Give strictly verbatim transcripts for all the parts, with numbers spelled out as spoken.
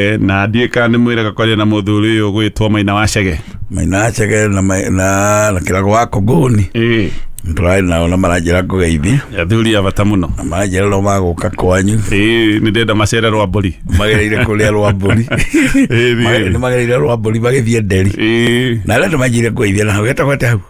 Na ndiä kana nä mwä raga kwaria na må thuri å yå gwä two Maina wa Chege. Maina wa Chege na na na Kĩrago wa Kongoni. Ĩĩ. Tũrarĩ nao na maranjĩra ngũgeithie. Athuri a bata mũno. Na maranjĩra no magũka kwanyu. Ĩĩ, nĩ ndĩrenda macere Rwambũri. Magereire kũrĩa Rwambũri. Ĩĩ. Nĩ magereire Rwambũri magĩthiĩ Nderi. Ĩĩ. Na arĩa manjire ngũgeithie na hau hetagwo atĩa hau?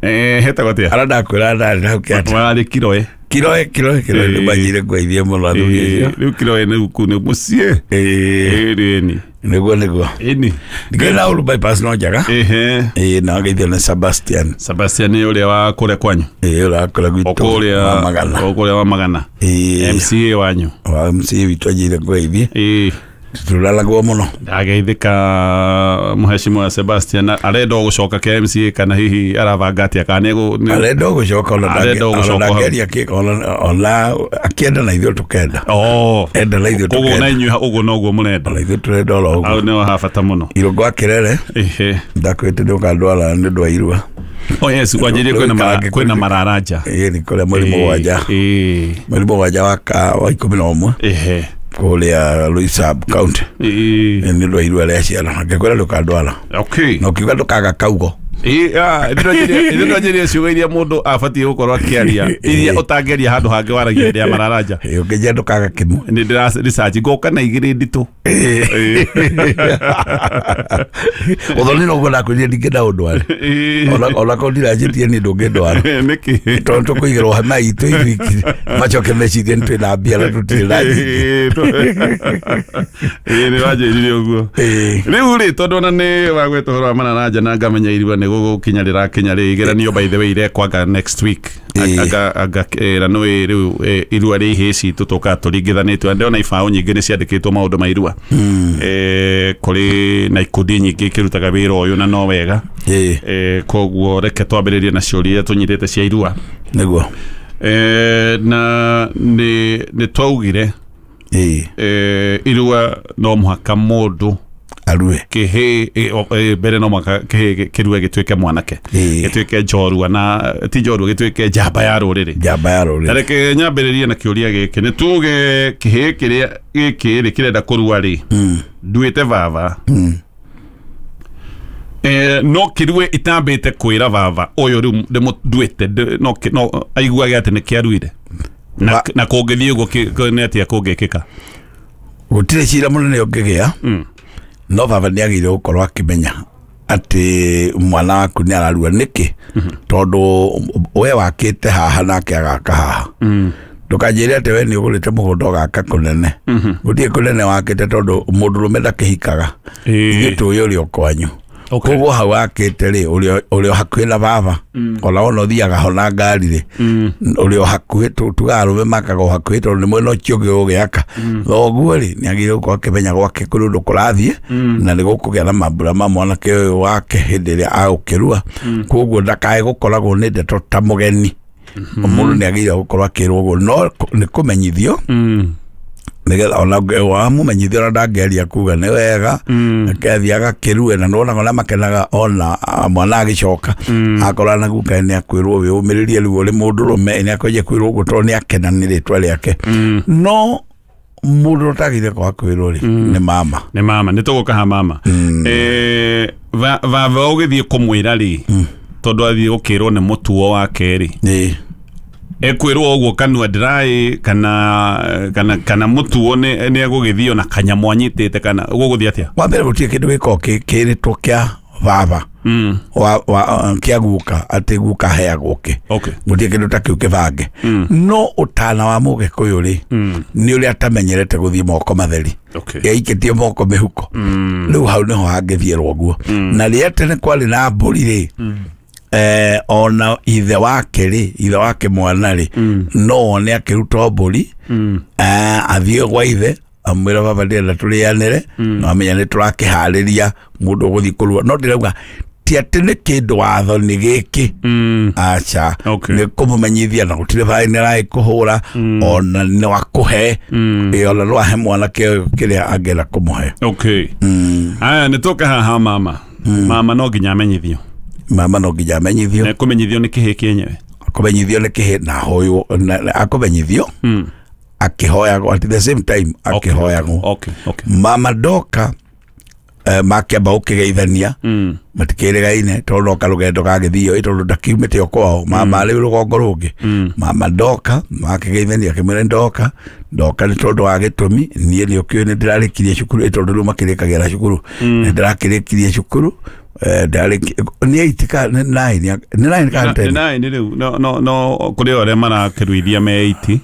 Eh, hetagwo atĩa? Arĩa ndakwĩra ndarĩ na hau kĩata. Warĩ Kiroe. Kiroe, Kiroe, Kiroe nĩ manjire ngũgeithie mũno athuri acio. Rĩu Kiroe nĩ kũu nĩ mũciĩ. Ĩĩ. Ĩĩ, nĩguo nĩguo. Ĩni. Ndikĩrĩ na ũru bypass no njega. Ehe. Ĩĩ, na ngeithio nĩ Sebastian. Sebastian nĩ ũrĩa wa kũrĩa kwanyu? Ĩĩ, ũrĩa wa kũrĩa gwitũ. Kũrĩa wa Magana. Kũrĩa wa Magana. Ĩĩ. M C A wanyu. Wa M C A witũ anjire ngũgeithie. Ĩĩ. Tũraragwo mũno. Ndageithĩka mũheshimiwa Sebastian arenda gũcoka K M C A kana hihi arabanga atĩa kana nĩ arenda gũcoka ona ndangĩaria kĩ ona akĩenda na ithuĩ tũkenda. Oh. Enda na ithuĩ tũkenda. Koguo na inyuĩ ũguo noguo mũrenda. Ona ithuĩ tũrenda oro ũguo. Hau nĩho ha bata mũno. Irũngũ wa Kĩrere. Ehe. Ndakwĩte ndũkandwara nĩ ũndũ wa irua. Oh yes, kwanjĩrie kwĩna kwĩna mararanja. Ĩĩ, nĩ kũrĩa mweri mũgwanja. Ĩĩ. Mweri mũgwanja wa ikũmi na ũmwe. Ehe. Kũrĩa Loisab County. Ĩĩ. Nĩ ũndũ wa irua rĩa ciana. Ngĩkwĩra ndũkandwara. Okay. Na ũkiuga ndũkaga kaugo. Ĩĩ, ah, nĩ ndĩranjĩria ciugo iria mũndũ abatiĩ gũkorwo akĩaria iria ũtangĩaria handũ hangĩ waragia hĩndĩ ya mararanja. Ĩĩ, ũkĩnjĩra ndũkaga kĩmwe. Nĩ ndĩra research ngoka na igĩrĩ nditũ. Ĩĩ. Ũthoni no guo ndakwĩrire ndingĩenda ũndware. Ona ona korwo ndiranjĩtie niĩ ndũngĩndwara. Nĩkĩ? Tondũ tũkũigĩrwo hema itũ ithuĩ macoke mecirie nĩ twĩna mbia na tũtirĩ na nyingĩ. Ĩĩ, nĩ wanjĩrire ũguo. Ĩĩ. Rĩu rĩ, tondũ ona nĩ wagweta ũhoro wa mararanja na ngamenya irua nĩ gũgũkinya rĩrakinya rĩ, igeranio by the way irekwanga next week. Aga aga na nĩ rĩu irua rĩa ihĩĩ citũ tũkaga tũringithanĩtio. Ndĩrona ibaũ nyingĩ nĩ ciandĩkĩtwo maũndũ ma irua. Eh, kũrĩ na ikundi nyingĩ ikĩrutaga wĩra ũyũ na no wega. Ĩĩ. Koguo reke twambĩrĩrie na ciũria tũnyitĩte cia irua. Nĩguo. Eh, na nĩ nĩ twaugire Ĩĩ. Eh, irua no mũhaka mũndũ arue kĩhĩĩ mbere no mũhaka kĩhĩĩ kĩrue gĩtuĩke mwanake, gĩtuĩke njorua na ti njorua, gĩtuĩke njamba ya rũrĩrĩ. Njamba ya rũrĩrĩ. Reke nyambĩrĩrie na kĩũria gĩkĩ. Nĩ tuge kĩhĩĩ kĩrĩa gĩkĩ rĩ kĩrenda kũrua rĩ, nduĩte baba. Eh, no kĩrue itambĩte kwĩra baba ũyũ rĩu ndĩmũnduĩte, no no aiguage atĩ nĩ kĩaruire. Na na kũngĩthiĩ ũguo nĩ atĩa kũngĩkĩka? Gũtirĩ cira mũnene ũngĩgĩa. No baba nĩ agĩrĩire gũkorwo akĩmenya atĩ mwana waku nĩ ararua. Nĩkĩ? Tondũ we wakĩte haha nake agaka haha. Ndũkanjĩre atĩ we nĩ ũgũrĩte mũgũnda ũgaka kũnene. Gũtirĩ kũnene wakĩte tondũ mũndũrũme ndakĩhikaga. Ithuĩ tũĩ ũrĩa kwanyu. Koguo hau wakĩte rĩ, ũrĩa hakuhĩ na baba, ona wona ũthiaga ho na ngari rĩ, ũrĩa hakuhĩ, tugaga arũme makaga o hakuhĩ tondũ nĩ mwena ũcio ũngĩ ũgũgĩaka. Thoguo rĩ, nĩ agĩrĩire gũkorwo akĩmenya gwake kũrĩ ũndũ kũrathiĩ, na nĩ gũkũgĩa na mambura ma mwanake ũyũ wake hĩndĩ ĩrĩa agũkĩrua. Koguo ndakae gũkoragwo nĩ ndeto ta mũgeni. Mũndũ nĩ agĩrĩire gũkorwo akĩrwo ũguo, no nĩ kũmenyithio nĩgetha ona wamũmenyithia ona ndangĩaria kuga nĩ wega, akathiĩ agakĩrue na nĩwonaga ona makenaga ona mwana agĩcoka akora na guka nĩ akwĩrwo wĩyũmĩrĩrie rĩu ũrĩ mũndũrũme, nĩ akwanjia kwĩrwo ũguo tondũ nĩ akena nĩ rĩtwa rĩake. No mũndũ ũtagĩrĩire kwaga kwĩrwo rĩ nĩ mama. Nĩ mama, nĩ tũgũka ha mama. Eh, baba ũgĩthiĩ kũmwĩra rĩ, tondũ athiĩ gũkĩrwo nĩ mũtuo wake rĩ, ekwĩrwo ũguo kanua ndĩraĩ kana kana kana mũtuo nĩ nĩ egũgĩthiĩ ona kanyamũ anyitĩte kana gũgũthiĩ atĩa? Wa mbere gũtirĩ kĩndũ gĩkoragwo kĩrĩtwo kĩa baba wa wa kĩa guka atĩ guka aheagwo kĩ. Gũtirĩ kĩndũ ta kĩu kĩbange. No ũtana wa mũgĩkũyũ rĩ nĩ ũrĩa atamenyerete gũthiĩ moko matheri. Yaikĩtie moko mĩhuko. Rĩu hau nĩho hangĩthiĩrwo ũguo. Na rĩrĩa tene kwarĩ na mbũri rĩ, eh, ona ithe wake rĩ, ithe wake mwana rĩ, no one akĩruta mbũri, athiĩ gwa ithe amwĩra baba ndĩrenda tũrĩanĩre, na amenya nĩ tũrakĩharĩria mũndũ ũgũthiĩ kũrua. No ndĩrauga ti atĩ nĩ kĩndũ watho nĩ gĩkĩ, aca, nĩ kũmũmenyithia na gũtirĩ baĩ nĩ araĩ kũhũra, ona no akũhe, ona no ahe mwanake ũyũ kĩrĩa angĩenda kũmũhe. Okay. Aya, nĩ tũke haha mama. Mama no nginya amenyithio. Mama no nginya amenyithio. Na kũmenyithio nĩ kĩhĩĩ kĩenyewe. Kũmenyithio nĩ kĩhĩĩ na hoywo, akũmenyithio Akĩhoyagwo at the same time akĩhoyagwo. Okay, okay. Mama ndoka eh, makĩamba gũkĩgeithania Mm. matikĩrĩgaine tondũ noka rũgendo gagĩthio tondũ ndakiumĩte o kwao mama rĩu rũgongo rũngĩ. Mama ndoka makĩgeithania akĩmwĩra ndoka ndoka nĩ tondũ wa gĩtũmi niĩ nĩ ũkĩũĩ nĩ ndĩrarĩkirie cukuru tondũ rĩu makĩrĩkagĩra cukuru nĩ ndĩrakĩrĩkirie cukuru eh, ndarĩki- nĩ eight ka nĩ nine nĩ nine ka ten. Nĩ nine rĩu no no no kũrĩ arĩa marakĩruithia me eight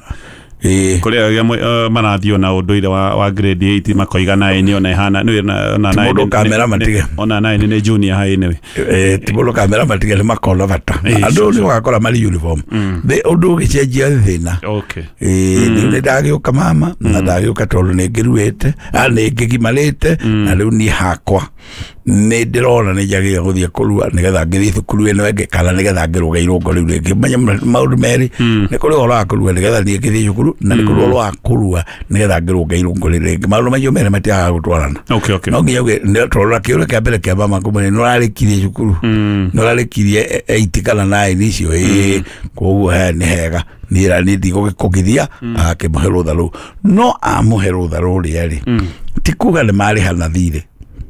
Ĩĩ. kũrĩ arĩa uh, marathiĩ na ũndũire wa, wa grade eight makoiga nine ona ĩhana nĩ ona Ti nine mũndũ ũkamera matige. ona nine nĩ junior high anyway. Eh, ti mũndũ kamera matige nĩ makona bata Ĩĩ, andũ sure, nĩ ũgakora marĩ uniform Thĩ- ũndũ ũgĩcenjia thĩna. Okay. Ĩĩ, rĩu nĩ ndagĩũka mama na ndagĩũka tondũ nĩ ngĩruĩte a nĩ ngĩgimarĩte na rĩu niĩ hakwa nĩ ndĩrona nĩ njagĩrĩire gũthiĩ kũrua nĩgetha ngĩthiĩ thukuru ĩno ĩngĩ kana nĩgetha ngĩrũge irũngo rĩu rĩngĩ menya maũndũ merĩ nĩ kũrĩ ũhoro wa kũrua nĩgetha niĩ ngĩthiĩ cukuru na nĩ kũrĩ ũhoro wa kũrua nĩgetha ngĩrũge irũngo rĩu rĩngĩ maũndũ macio merĩ matiagaga gũtwarana. Okay, okay. No nginya uge nĩ- tondũ na kĩũria kĩa mbere kĩa mama kũmwĩra nĩ ũrarĩkirie cukuru nĩ ũrarĩkirie eight kana nine icio ĩĩ koguo he nĩ hega niĩ ra niĩ ndigũgĩkũgithia agakĩmũhe rũtha rũu no amũhe rũtha rũrĩa rĩ ti kuga nĩ marĩhana thirĩ.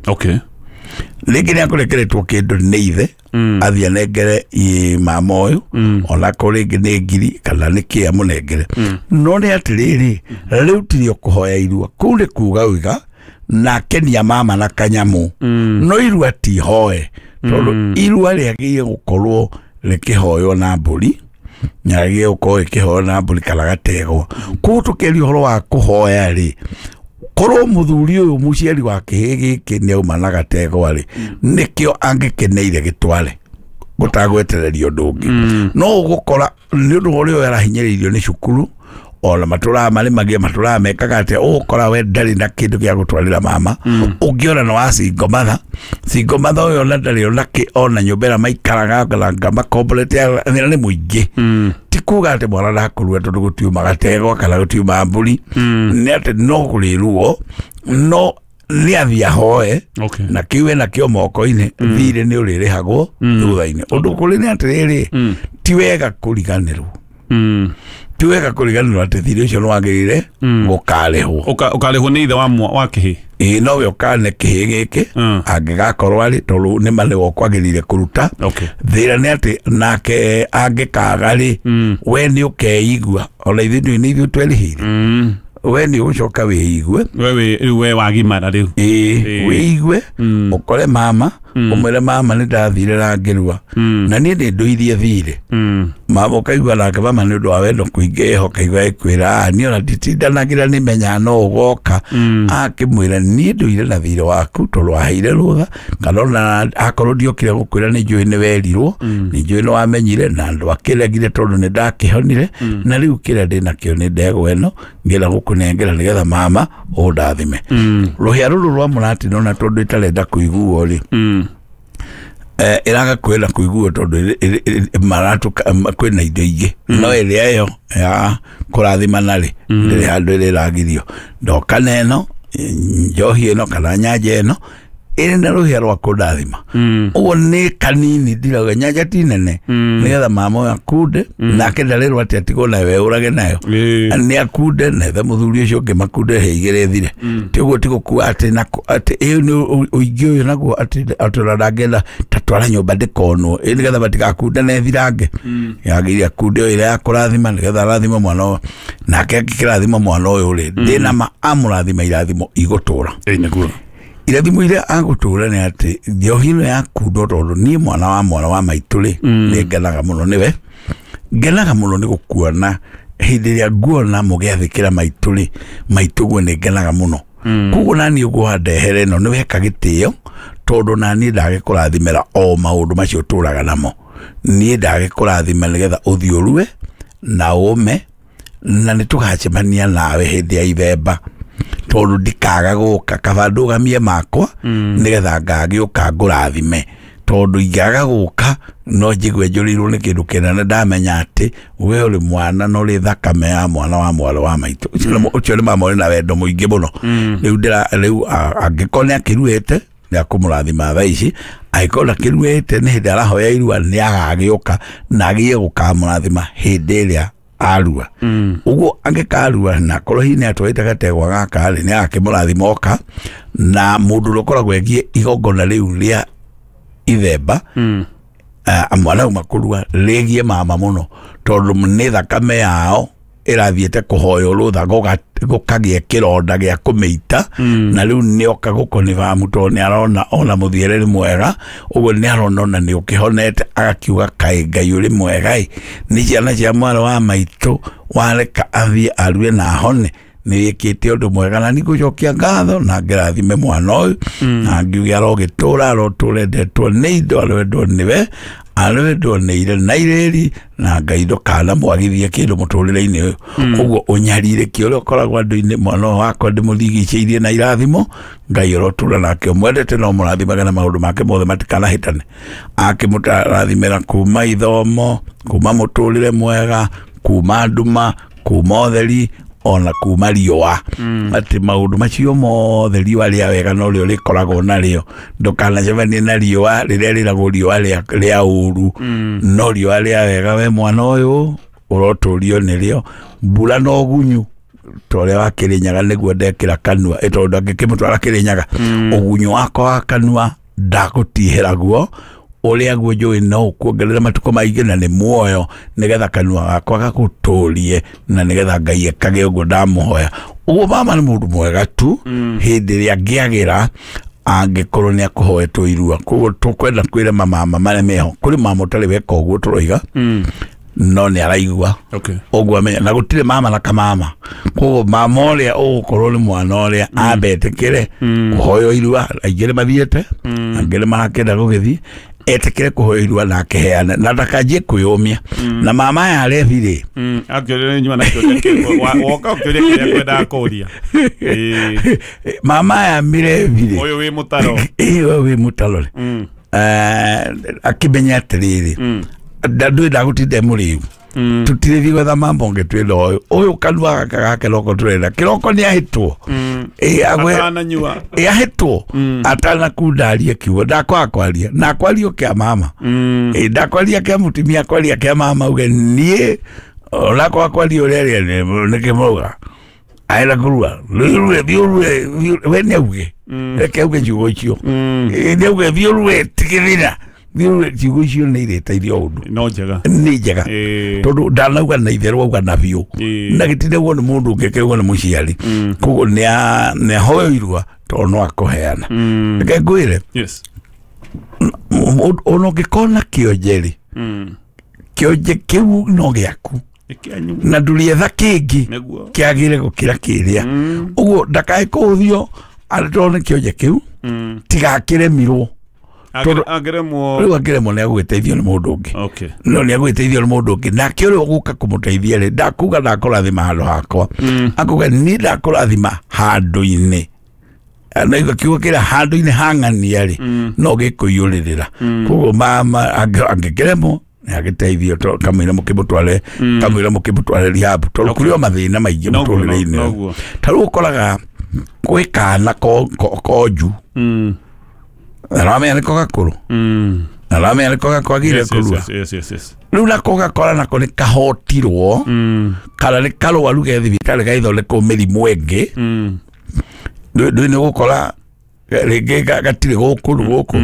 Okay. Rĩngĩ nĩ akũrekeretwo kĩndũ nĩ ithe athiĩ anengere ĩ mama ũyũ onako rĩngĩ nĩ ngiri kana nĩ kĩ amũnengere no nĩ atĩrĩrĩ rĩu tirio kũhoya irua kũu nĩ kuga uiga na kenia mama na kanyamũ no irua ti hoe tondũ irua rĩagĩrĩire gũkorwo rĩkĩhoywo na mbũri nyagĩrĩire gũkorwo rĩkĩhoywo na mbũri kana gategwa koguo tũkĩaria ũhoro wa kũhoya rĩ korwo mũthuri ũyũ mũciari wa kĩhĩ gĩkĩ nĩ auma na gategwa rĩ nĩkĩo angĩkeneire gĩtware gũtagwetereria ũndũ ũngĩ no ũgũkora nĩ ũndũ ũrĩa ũyũ arahinyĩrĩirio nĩ cukuru ona matũraga marĩmagia matũraga mekaga atĩa ũgũkora we ndarĩ na kĩndũ gĩa gũtwarĩra mama ũngĩona nĩ wa single mother single mother ũyũ ona ndarĩ ona kĩ ona nyũmba ĩrĩa maikaraga nanga makomborete thĩna nĩ mũingĩ ti kuga atĩ mwana ndakũrua tondũ gũtiuma gategwa kana gũtiuma mbũri nĩ atĩ no kũrĩ ruo no nĩ athiĩ ahoe Okay. na kĩu ena kĩo moko-inĩ thirĩ nĩ ũrĩrĩhagwo thutha-inĩ ũndũ kũrĩ nĩ atĩrĩrĩ ti wega kũriganĩrwo Mm. ti wega kũriganĩrwo atĩ thirĩ ũcio nĩ wagĩrĩire gũkarĩhwo. Ũka- ũkarĩhwo nĩ ithe wa mwa- wa kĩhĩ. Ĩĩ nowe ũkane kĩhĩ gĩkĩ Mm. angĩgakorwo arĩ tondũ nĩ ma nĩwe ũkwagĩrĩire kũruta. Okay. Thĩna nĩ atĩ nake angĩkaga rĩ we nĩ ũkeigua ona ithuĩ ndũĩ nĩ ithuĩ twerĩhĩire Mm. we nĩ ũgũcoka wĩigue. We wĩ rĩu we wagimara rĩu. Ĩĩ Ĩĩ. wĩigue ũkore mama ũmwĩre mama nĩ ndathire na ngĩrua na niĩ nĩ ndũirie thirĩ Mm. mama ũkaigua nake mama nĩ ũndũ wa wendo kũingĩ ũkaigua ĩkwĩra "Ah, niĩ ona nditindanagĩra nĩ menyaga no ũgoka akĩmwĩra niĩ ndũire na thirĩ waku tondũ waheire rũtha kana ona akorwo ndiokire gũkwĩra nĩ njũĩ nĩ werirwo nĩ njũĩ nĩ wamenyire na ndwakĩregire tondũ nĩ ndakĩhonire na rĩu kĩrĩa ndĩnakĩo nĩ ndegwa ĩno ngĩenda gũkũnengera nĩgetha mama ũndathime rũhĩa rũrũ rwa mũratino na tondũ ĩtarenda kũiguo rĩ Mm. eh, ĩraga kwenda kũiguo tondũ ĩrĩ- ĩrĩ- ĩrĩ- maratũka ma- kwĩna indo ingĩ no ĩrĩa ĩyo ya kũrathimana rĩ ndĩrĩ handũ ĩrĩ ĩragirio ndoka na ĩno njohi ĩno kana nyanja ĩno ĩrĩ na rũhĩa rwa kũndathima ũguo nĩ kanini ndirauga nyanja ti nene nĩgetha mama ũyũ akunde nake ndarĩrwo atĩ atigwo nayo eũrage nayo Ĩĩ. nĩ akunde na ethe mũthuri ũcio ũngĩ makunde he igĩrĩ thire ti ũguo ti gũkua atĩ nako atĩ ĩyo nĩ ũ- ũingĩ ũyũ naguo atĩ atĩ ona ndangĩenda ta twara nyũmba ndĩkonwo ĩ nĩgetha matigakunde na ĩthirange yagĩrĩire akunde ĩyo ĩrĩa ya kũrathima nĩgetha arathima mwana ũyũ nake angĩkĩrathima mwana ũyũ rĩ ndĩna ma amũrathima irathimo igũtũra. Ĩĩ nĩguo. Irathimo iria agũtũra nĩ atĩ njohi ĩno yakundwo tondũ niĩ mwana wa mwana wa maitũ rĩ nĩ ngenaga mũno nĩwe ngenaga mũno nĩ gũkuona hĩndĩ ĩrĩa nguona mũgĩathĩkĩra maitũ rĩ maitũ guo nĩ ngenaga mũno koguo naniĩ ũguo wandehere ĩno nĩ weka gĩtĩo tondũ naniĩ ndagĩkũrathimĩra o maũndũ macio tũraga namo niĩ ndagĩkũrathima nĩgetha ũthiĩ ũrue na ũme na nĩ tũgacemania nawe hĩndĩ ya ithemba tondũ ndikaga gũka kaba ndũgamie makwa nĩgetha ngagĩũka ngũrathime tondũ ingĩaga gũka no njigue njũrĩirwo nĩ kĩndũ kĩnene ndamenya atĩ we ũrĩ mwana na ũrĩ thakame ya mwana wa mwarĩ wa maitũ ũcio nĩ- ũcio nĩ mama ũrĩ na wendo mũingĩ mũno rĩu ndĩra rĩu a- angĩkorwo nĩ akĩruĩte nĩ akũmũrathima thaa ici angĩkorwo ndakĩruĩte nĩ hĩndĩ arahoya irua nĩ agagĩũka na agie gũkamũrathima hĩndĩ ĩrĩa Arua uguo angikarua na korwo hihi nĩ atwarĩte gategwa gaka rĩ nĩ agakĩmũrathima oka na mũndũ ũrĩa ũkoragwo egie igongona rĩu rĩa ithemba mm. uh, mwana auma kũrua rĩgie mama mũno tondũ nĩ thakame yao ĩrathiĩte kũhoywo rũtha gũkagĩa kĩronda gĩa kũmĩita mm. na rĩu nĩoka gũkonibamu tondũ nĩ arona ona mũthiĩre nĩ mwega ũguo nĩ arona ona nĩ ũkĩhonete agakiuga kaĩ Ngai ũrĩ mwega ĩ nĩ ciana cia mwarĩ wa maitũ wareka athiĩ arue na ahone nĩ wĩkĩte ũndũ mwega na nĩngũcokia ngatho na ngĩrathime mwana ũyũ na ngiuge arogĩtũra arotũra endetwo nĩ indo aroendwo nĩwe aroendwo nĩ ire na irĩri na Ngai ndũkanamwagithie kĩndũ mũtũrĩre-inĩ ũyũ ũguo ũnyarirĩki ũrĩa ũkoragwo andũ-inĩ mwana ũyũ wakwa ndĩmũrigicĩirie na irathimo Ngai ũrotũra nake ũmwendete no mũrathimage na maũndũ make mothe matikanahĩtane akĩmũrathimĩra kuma ithomo kuma mũtũrĩre mwega kuma nduma kuma ũtheri ona kuma riũa atĩ maũndũ macio mothe riũa rĩa wega no rĩo rĩkoragwo narĩo ndũkanacemanie na riũa rĩrĩa rĩragwo riũa rĩa ũru no riũa rĩa wega we mwana ũyũ ũrotũrio nĩrĩo mbura na ũgunyu ta ũrĩa wa Kĩrĩnyaga nĩguo ndekĩra kanua ĩ tondũ angĩkĩmũtwara Kĩrĩnyaga ũgunyu wakwa wa kanua ndagũtihĩra guo ũrĩa guo njũĩ no ũkuongerera matukũ maingĩ na nĩ muoyo nĩgetha kanua gakwa gagũtũrie na nĩgetha Ngai ekage ũguo ndamũhoya ũguo mama nĩ mũndũ mwega tu hĩndĩ ĩrĩa angĩagĩra angĩkorwo nĩ akũhoetwo irua koguo tũkwenda kwĩra mamama marĩa meho kũrĩ mama ũtarĩ weka ũguo tũroiga no nĩ araigua ũguo amenya na gũtirĩ mama na kamama koguo mama ũrĩa ũgũkorwo nĩ mwana ũrĩa ambetĩkĩre kũhoywo irua aingĩ nĩ mathiĩte angĩ nĩ marakĩenda gũgĩthiĩ etekere kuhoya irua na akiheana na ndakanjie kwiyumia na mama aya arethi rĩ akĩũria nyuma na kĩũria kĩ woka ũkĩũria kĩrĩa kwendaga kũria mama aya mirethi rĩ ũyũ wĩ mũtaro ĩĩ ũyũ wĩ mũtaro rĩ akĩmenya atĩrĩrĩ ndũĩ ndagũtinda mũrĩu tũtirĩthiĩ gwetha mambo ũngĩ twĩna ũyũ ũyũ kanua gaka ga kĩroko tũrenda kĩroko nĩ ahĩtwo ĩ ahĩtwo atanakunda arie kiugo ndakwaga kwaria na akwario kĩa mama ĩ ndakwaria kĩa mũtumia akwaria kĩa mama uge niĩ onakwaga kwaria ũrĩa arĩa nĩkĩ mauga aenda kũrua rue thiĩ ũrue we nĩ auge reke auge ciugo icio nĩ auge thiĩ ũrue tigĩrĩra ciugo icio nĩ irĩteithia ũndũ no njega nĩ njega tondũ ndanauga na itherũ auga na biũ na gĩtindagwo nĩ mũndũ ũngĩ kĩauga nĩ mũciari koguo nĩ ahoyo irua tondũ no akũheana reke ngwĩre ona ũngĩkorwo kĩonje rĩ kĩonje kĩu no gĩaku na ndũrĩetha kĩngĩ kĩagĩre gũkĩra kĩrĩa ũguo ndakae kũhũthio atĩ tondũ nĩ kĩonje kĩu tigakĩremirwo angĩremwo rĩu angĩremwo nĩ agũgĩteithio nĩ mũndũ ũngĩ no nĩ agũgĩteithio nĩ mũndũ ũngĩ nake ũrĩa ũgũka kũmũteithia rĩ ndakuga ndakũrathima handũ hakwa akuga niĩ ndakũrathima handũ-inĩ na kiugo kĩrĩa handũ-inĩ hang'ania rĩ no gĩkũiyũrĩrĩra koguo mama angĩkĩremwo agĩteithio kamũira mũkĩmũtware kamũira mũkĩmũtware rehab tondũ kũrĩ o mathĩna maingĩ mũtũrĩre-inĩ ta rĩu ũkoraga gwĩ kana konju aramenya nĩko gakũrũ aramenya nĩko gakwagire kũrua rĩu nako gakora nako nĩ kahotirwo kana nĩ karwaru ge thibitarĩ gaithondekwo mĩrimũ ĩngĩ ndũĩ nĩ ũgũkora rĩngĩ gatirĩ gũkũ gũkũ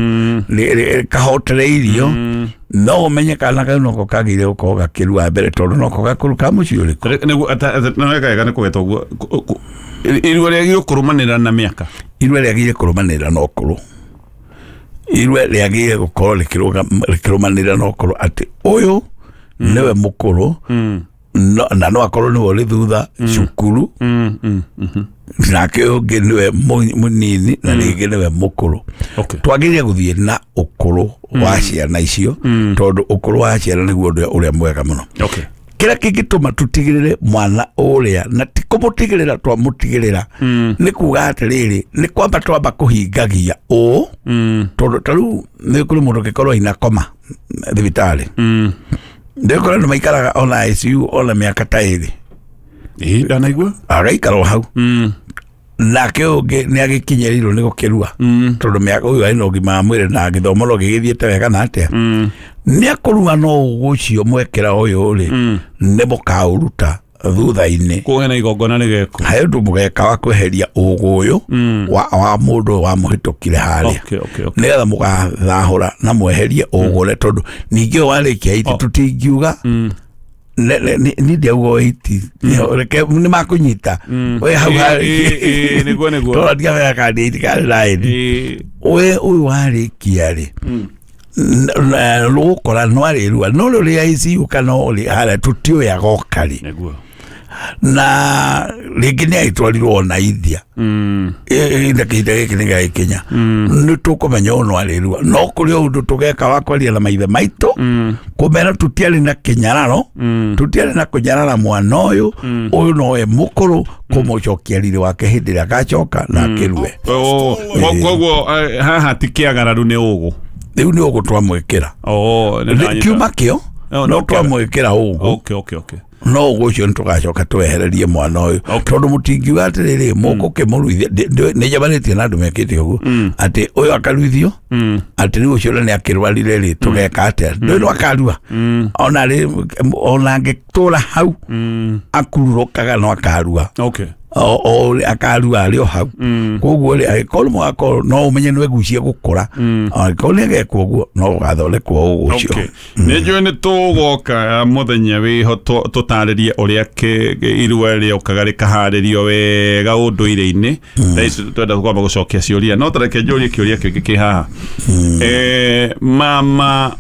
kahotereirio no ũmenye kana kau noko kagĩrĩire gũkorwo gakĩrua mbere tondũ noko gakũrũ ka mũciĩ ũrĩkũ nĩguo wega nĩ kũgeta ũguo irua rĩagĩrĩirwo kũrũmanĩrĩra na mĩaka irua rĩagĩrĩire kũrũmanĩrĩra na ũkũrũ irua rĩagĩrĩire gũkorwo rĩkĩrũmanĩrĩra na ũkũrũ atĩ ũyũ nĩwe mũkũrũ na no akorwo nĩwe ũrĩ thutha cukuru nake ũyũ ũngĩ nĩwe mũnini na rĩngĩ nĩwe mũkũrũ twagĩrĩire gũthiĩ na ũkũrũ wa ciana icio tondũ ũkũrũ wa ciana nĩguo ũndũ ũrĩa mwega mũno kĩrĩa kĩngĩtũma tũtigĩrĩre mwana ũrĩa na ti kũmũtigĩrĩra twamũtigĩrĩra nĩ kuga atĩrĩrĩ nĩ kwamba twamba kũhingagia ũũ tondũ ta rĩu nĩ kũrĩ mũndũ ũngĩkorwo ina koma thibitarĩ ndĩkora andũ maikaraga ona I C U ona mĩaka ta ĩrĩ ĩĩ ndanaigua agaikara o hau Nake ũngĩ nĩ agĩkinyĩrĩirwo nĩ gũkĩrua tondũ mĩaka ũyũ arĩ na ũgima wa mwĩrĩ na gĩthomo no gĩgĩthiĩte wega na atĩa nĩ akũrua no ũgũ ũcio mwekĩra ũyũ rĩ nĩ mũkaũruta thutha-inĩ kũhe na igongona rĩgekwo he ũndũ mũgeka wa kweheria ũgũ ũyũ wa, wa mũndũ ũyũ wamũhĩtũkire harĩa okay okay okay nĩgetha mũgathahũra na mweherie ũgũre tondũ ningĩ ũyũ warĩkia iti tũtingiuga ne- ne- ni ni ndiauga iti reke nĩ makũnyita we hau Ĩ, harĩkia ĩ, ĩ, nĩguo, nĩguo. tondũ ndiamenya kana nĩ iti kana nĩ raini Ĩ, we ũyũ warĩkia rĩ rũgũkora no arĩrua no rũrĩa I C U kana ũrĩ harĩa tũtiũĩ agoka rĩ nĩguo na rĩngĩ nĩ agĩtwarirwo ona India Mm. na kĩhinda gĩkĩ nĩ gĩgagĩkinya nĩ tũkũmenya ũyũ no arĩrua no kũrĩ o ũndũ tũgeka wa kwaria na maithe maitũ kũmera tũtiarĩ na kĩnyararo tũtiarĩ na kũnyarara mwana ũyũ ũyũ nowe mũkũrũ kũmũcokia riri wake hĩndĩ ĩrĩa agacoka na akĩrue Oh, ko- koguo eh, haha ti kĩagararu nĩ ũgũ rĩu nĩ ũgũ twamwĩkĩra Oh, nĩ ndanyita. kiuma kĩo Oh, no no twamwĩkĩra ũgũ okay okay okay no ũguo ũcio nĩ tũgacoka twehererie mwana ũyũ tondũ mũtingiuga atĩrĩrĩ mũgũkĩmũruithia nĩ njamanĩtie na andũ mekĩte ũguo atĩ ũyũ akaruithio atĩ rĩu ũcio nĩ akĩrwarire rĩ tũgeka atĩa ndũĩ no akarua ona rĩ ona angĩtũra hau akururũkaga no akarua okay o o akarua arĩ o hau koguo rĩ angĩkorwo mũgakorwo no ũmenye nĩ wegucie gũkũra angĩkorwo nĩ agekwo ũguo no ũgathondekwo ũguo ũcio okay nĩ njũĩ nĩ tũgoka mũthenya wĩho tũ- tũtarĩrie ũrĩa kĩ- kĩ- irua rĩokaga rĩkaharĩrio wega ũndũire-inĩ thaa ici twenda kwamba gũcokia ciũria no tareke njũrie kĩũria kĩngĩ kĩ haha Eh, mama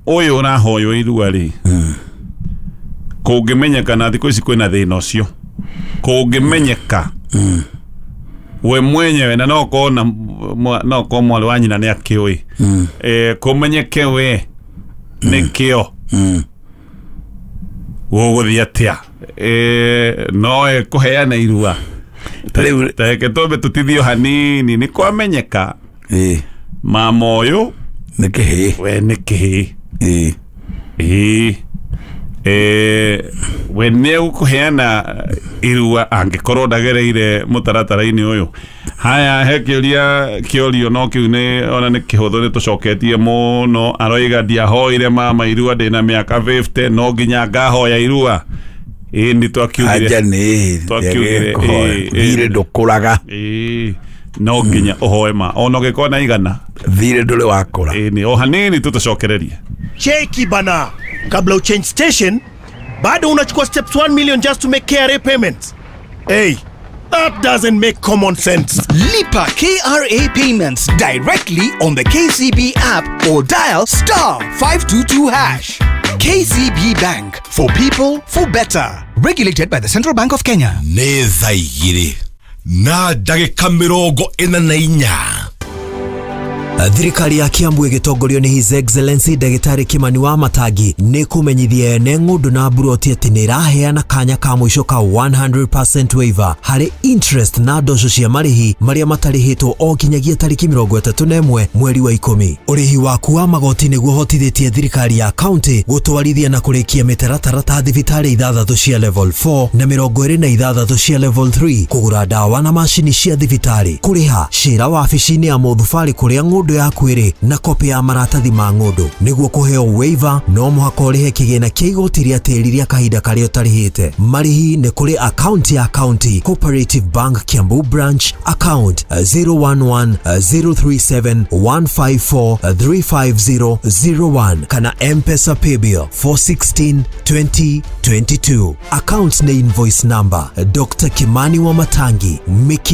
ũyũ ũrahoywo irua rĩ kũngĩmenyeka na thikũ ici kwĩna thĩna ũcio kũngĩmenyeka we mwenyewe na no korwo na mwa- no korwo mwarĩ wa nyina nĩ akĩũĩ eh, kũmenyeke we nĩkĩo gũgũthiĩ atĩa eh, no ĩkũheana irua Rĩu- tareke twambe tũtithio hanini nĩ kwamenyeka ĩĩ mama ũyũ nĩ kĩhĩĩ we nĩ kĩhĩĩ ĩĩ ĩĩ eh, we nĩ egũkũheana irua angĩkorwo ndagereire mũtaratara-inĩ ũyũ haya he kĩũria kĩorio no kĩu nĩ ona nĩ kĩhũthũ nĩ tũcoketie mũno aroiga ndiahoire mama irua ndĩna mĩaka fifty no nginya ngahoya irua ĩĩ nĩ twakiugire anja nĩ Twakiugire, ĩĩ, ĩĩ. thirĩ ndũkũraga ĩĩ no nginya ũhoe ma ona ũngĩkorwo na igana thirĩ ndũrĩ wakũra ĩĩ nĩ o hanini tũtũcokererie Cheki bana, kabla uchange station bado unachukua steps one million just to make K R A payments. Hey, that doesn't make common sense. Lipa K R A payments directly on the K C B app or dial star five two two hash. K C B Bank, for people, for better. Regulated by the Central Bank of Kenya. Nĩ thaa igĩrĩ na ndagĩka mĩrongo ĩna na inya Thirikari ya Kiambu ĩgĩtongorio nĩ His Excellency Ndagĩtarĩ Kimani wa Matangi nĩ kũmenyithia ene ng'ũndũ na mburoti atĩ nĩ ĩraheana kanya ka mũico ka one hundred percent waiver harĩ interest na mbeca cia marĩhi marĩa matarĩhĩtwo o nginyagia tarĩki mĩrongo ĩtatũ na ĩmwe mweri wa ikũmi. Ũrĩhi waku wa magoti nĩguo ũhotithĩtie thirikari ya kaunti gũtwarithia na kũrĩkia mĩtaratara ta thibitarĩ ithathatũ cia level four na mĩrongo ĩrĩ na ithathatũ cia level three, kũgũra ndawa na macini cia thibitarĩ, kũrĩha cira wabici-inĩ ya mũthubarĩ kũrĩa ng'ũndũ yaku ĩrĩ na kopi ya maratathi ma ng'ũndũ. Nĩguo kũheo waiver no mũhaka ũrĩhe kĩgĩna kĩa igoti rĩa tĩri rĩa kahinda karĩa ũtarĩhĩte. Marĩhi nĩ kũrĩ akaunti ya County Cooperative Bank Kiambu Branch, account zero one one zero three seven one five four three five zero zero one kana M-Pesa Paybill four sixteen twenty twenty-two. Account na invoice number Doctor Kimani wa Matangi, Miki